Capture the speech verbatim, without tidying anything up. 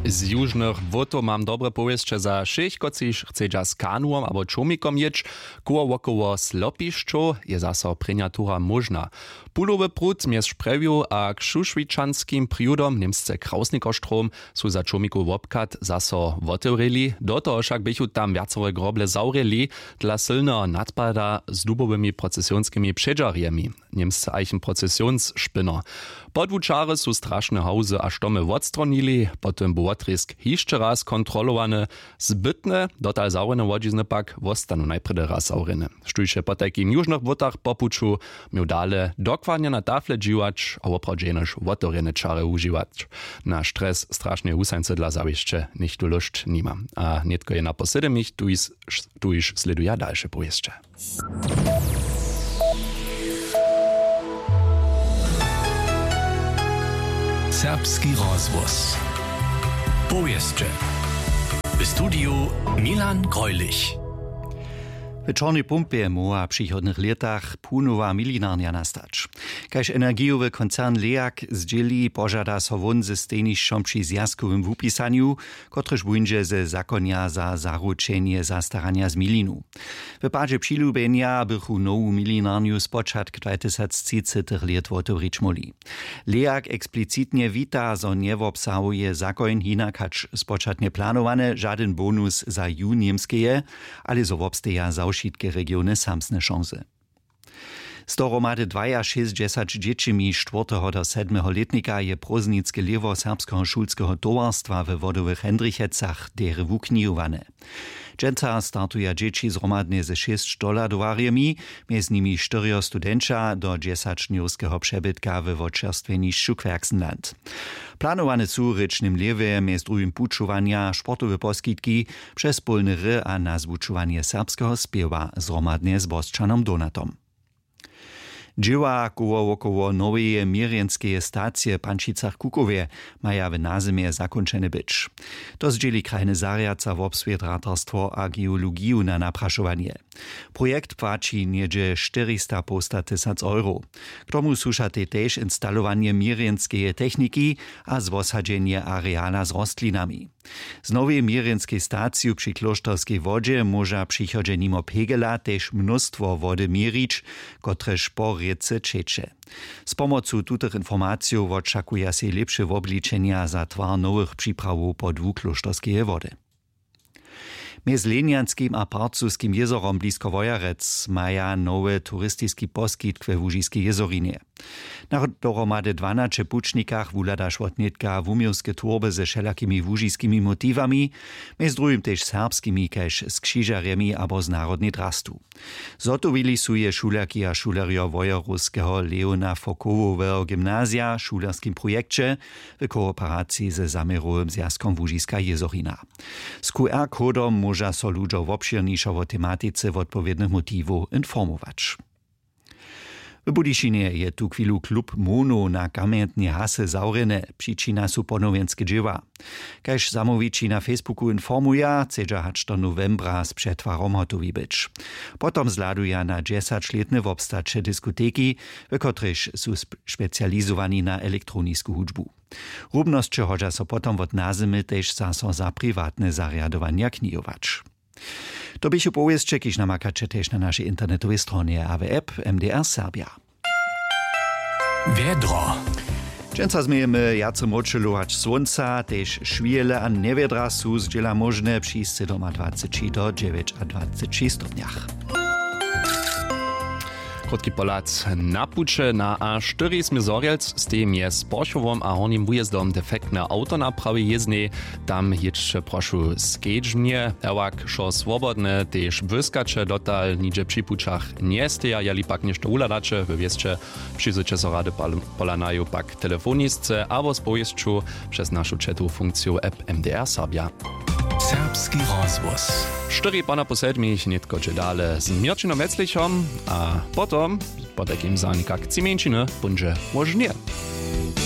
Z južnych wótow mam dobre powěsće za wšěch, kotřiž chcedźa z kanuwom abo čołmikom jěć. Koło wokoło slopišćow je zaso prěnja tura móžna. Pulowy prut mjez šprjewju a kšušwičanskim prjudom němsce krausnikoštrom su za čołmikowy wobchad zaso wotewrěli. Do toho wšak běchu tam wjacore groble zawrěli dla sylneho nadpada z dubowymi procesionskimi předźarjemi. Němsce eichenprocesionsšpynno. Podłučary su strašne hałzy a štomy wotstronili, potom bu wotrězk hišće raz kontrolowany. Zbytne dotal zawrjene łodźizny pak wostanu najprjedy raz zawrjene. Štóž je potajkim w južnych błotach po puću měł dale dokładnje na tafle dźiwać a woprawdźe jenož wotewrjene čary wužiwać. Na stres strašneje husańcy dla zawěsće něchtó lóšć nima. A nětko je na poslednich tuž tuž slěduja dalše powěsće. Serbski rozhłos. Powěsće. W studiju Milan Greulich. W Čornej Pumpje móhła w přichodnych lětach punowa milinarnja nastać. Kaž energijowy koncern Leak zdźěli, požada so wón ze stejnišćom při zwjazkowym wupisanju, kotryž wuńdźe ze zakonja za zaručenje zastaranja z milinu. W padźe přilubjenja bychu nowu milinarnju spočatk dwatysactřicetych lět wotewrić móhli. Leak eksplicitnje wita, zo njewobsahuje zakoń hinak hač spočatnje planowane žadyn bonus za ju němskeje, ale zo wobsteja za wšitke regiony samsne šansy. Z dohromady dwajašěsćdźesać dźěćimi štwórteho do sedmeho lětnika je prózdninske lěhwo serbskeho šulskeho towarstwa we wodowych hendrichecach derje wuknihowane. Dźensa startuja dźěći zhromadnje ze šěsć dohladowarjemi, mjez nimi štyrjo studenća do dźesaćdnjowskeho přebytka we wočerstwjenišću querxenland. Planowane su w rěčnym lěhwje mjez druhim pućowanja sportowe poskitki, přez pólny ry a nazwučowanje serbskeho spěwa zhromadnje z bosćanom donatom. Dźěła koło wokoło noweje měrjenskeje stacije w pančicach kukowje maja w nazymje zakónčene być. To zdźěli krajny zarjad za wobswět ratarstwo a geologiju na naprašowanje. Projekt płaći něhdźe štyrista połstatysac euro. K tomu słušatej tež instalowanje měrjenskeje techniki a zwosadźenje areala z rostlinami. Z nowej měrjenskej staciju při klóšterskej wodźe móža w přichodźe nimo pegela tež mnóstwo wody měrić, kotrež po rěcy ćeće. Z pomocu tutych informacijow wočakuja sej lěpše wobličenja za twar nowych připrawow po dwu klóšterskeje wody. Mjez lenjanskim a parcuskim jězorom blisko wojerec maja nowy turistiski poskitk we łužiskej jězorinje. Na dohromady dwanaće pućnikach wuhladaš wotnětka wuměłske twórby ze wšelakimi łužiskimi motiwami, mjez druhim tež serbskimi kaž z křižerjemi abo z narodnej drastu. Zhotowili su je šulerki a šulerjo wojerowskeho leona fokowoweho gymnazija w šulerskim projekće, w kooperaciji ze zaměrowym zwjazkom łužiska jězorina. Z qr kodom móža so ludźo wobšěrnišo wo tematice wotpowědnych motiwow informować. W budyšinje je tuchwilu klub monow na kamjentnej hasy zawrjeny. Přičina su ponowjenske dźěła. Kaž zamołwići na facebooku informuja, chcedźa hač do nowembra z přetwarom hotowi być. Potom zhladuja na dźesaćlětne wobstaće diskoteki, w kotrejž su sp- specializowani na elektronisku hudźbu. Rubnosće hodźa so potom wot nazymy tež zaso za priwatne zarjadowanja knihować. To běchu powěsće, kiž namakaće tež na našej internetowej stronje a w app mdr serbja. Wjedro. Dźensa změjemy wjace mróčelować słónca, tež šwěle a njewjedra su zdźěla móžne při sydomadwaceći do dźewjećadwaceći stopnjach. Krótki pohlad na puće na a štyri směr Zhorjelc, stej mjez Porchowom a Hornim wujezdom defektne awto naprawi jěznej. Tam jědźće prošu skedźbnje, ewak wšo swobodne, tež błyskaće dotal nihdźe při pućach njesteja. Jeli pak něšto wuhladaće we wěsće, přizwyće so rady pal- pola naju pak telefonisce abo z powěsću přez našu četowu funkciju app mdr serbja. Serbski rozhłos. Štyri pana po sedmich nětko dźe dale z měrćinom weclichom a potom potajkim zanikak tři mjeńšiny póńdźe móžnje.